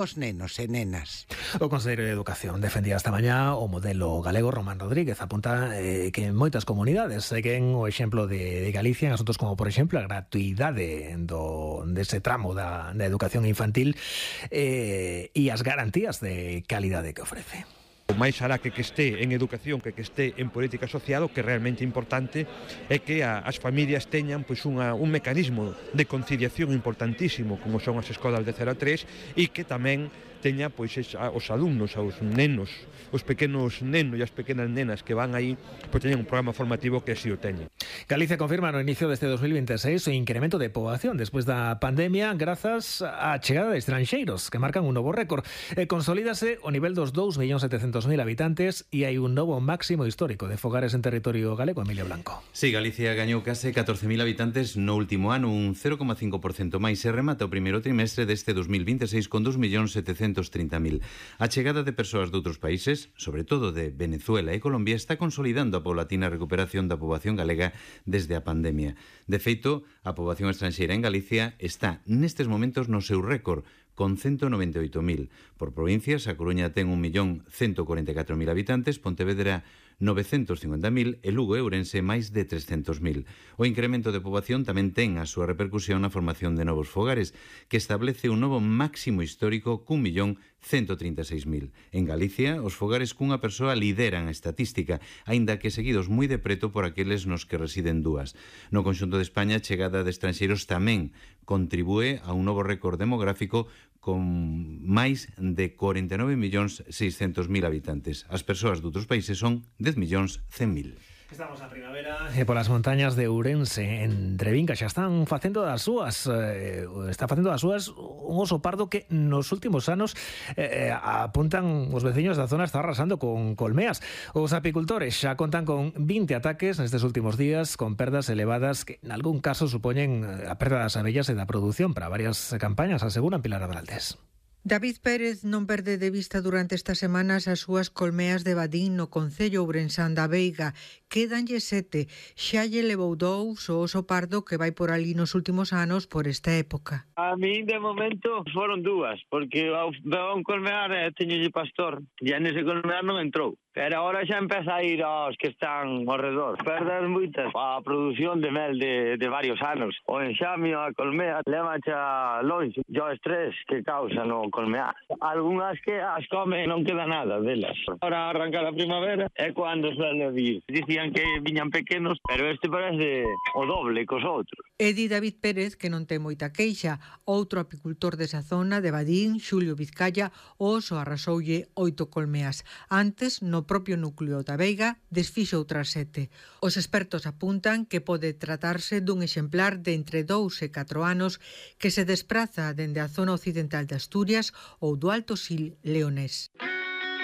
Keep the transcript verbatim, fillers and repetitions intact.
os nenos e nenas. O Conselleiro de Educación defendía esta mañá o modelo galego. Román Rodríguez apunta eh, que en moitas comunidades seguen o exemplo de, de Galicia en asuntos como, por exemplo, a gratuidade do, dese tramo da, da educación infantil eh, e as garantías de calidade que ofrece. O máis alá que que este en educación que que este en política social, o que é realmente importante é que a, as familias teñan pois unha, un mecanismo de conciliación importantísimo como son as escolas de cero a tres e que tamén teña pois os alumnos, os nenos, os pequenos nenos e as pequenas nenas que van aí, pois teñen un programa formativo que así o teñen. Galicia confirma no inicio deste dos mil veintiséis o incremento de poboación despois da pandemia grazas á chegada de estranxeiros que marcan un novo récord. E consolídase o nivel dos dous millóns setecentos mil habitantes e hai un novo máximo histórico de fogares en territorio galego. Emilio Blanco. Sí, Galicia gañou case catorce mil habitantes no último ano, un cero coma cinco por cento máis, e remata o primeiro trimestre deste dos mil veintiséis con dous millóns setecentos trinta mil. A chegada de persoas de outros países, sobre todo de Venezuela e Colombia, está consolidando a paulatina recuperación da poboación galega desde a pandemia. De feito, a poboación estranxeira en Galicia está nestes momentos no seu récord, con ciento noventa e oito mil. Por provincias, a Coruña ten un millón ciento cuarenta e catro mil habitantes, Pontevedra novecentos cincuenta mil e Lugo e Ourense máis de trescentos mil. O incremento de poboación tamén ten a súa repercusión na formación de novos fogares, que establece un novo máximo histórico cun millón ciento trinta e seis mil. En Galicia, os fogares cunha persoa lideran a estatística, aínda que seguidos moi de preto por aqueles nos que residen dúas. No conxunto de España, a chegada de estranxeiros tamén contribúe a un novo récord demográfico con máis de cuarenta e nove millóns seiscentos mil habitantes. As persoas de outros países son dez millóns cen mil. Estamos na primavera e polas montañas de Ourense, en Trevinca, xa están facendo das súas eh, está facendo das súas un oso pardo que nos últimos anos eh, apuntan os veciños da zona está arrasando con colmeas. Os apicultores xa contan con vinte ataques nestes últimos días, con perdas elevadas que en algún caso supoñen a perda das abellas e da produción para varias campañas, aseguran Pilar Adraldes. David Pérez non perde de vista durante estas semanas as súas colmeas de Badín no concello ourensán da Veiga. Quédanlle sete. Xa lle levou dous o oso pardo que vai por ali nos últimos anos por esta época. A mí de momento foron dúas, porque ao un colmear e teñolle pastor e nese colmear non entrou. Pero agora xa empeza a ir aos que están ao redor. Perdas moitas a produción de mel de, de varios anos. O enxamio, a colmea, leva xa longe. E o estrés que causa no colmear. Algúnas que as come non queda nada delas. Ahora arrancar a primavera é cando suele vir. Dicían que viñan pequenos, pero este parece o doble cos outros. E di David Pérez que non ten moita queixa. Outro apicultor desa zona de Badín, Xulio Vizcaya, o oso arrasoulle oito colmeas. Antes, no propio núcleo da Veiga, desfixo outras sete. Os expertos apuntan que pode tratarse dun exemplar de entre dous e catro anos que se despraza dende a zona occidental de Asturias ou do Alto Sil leonés.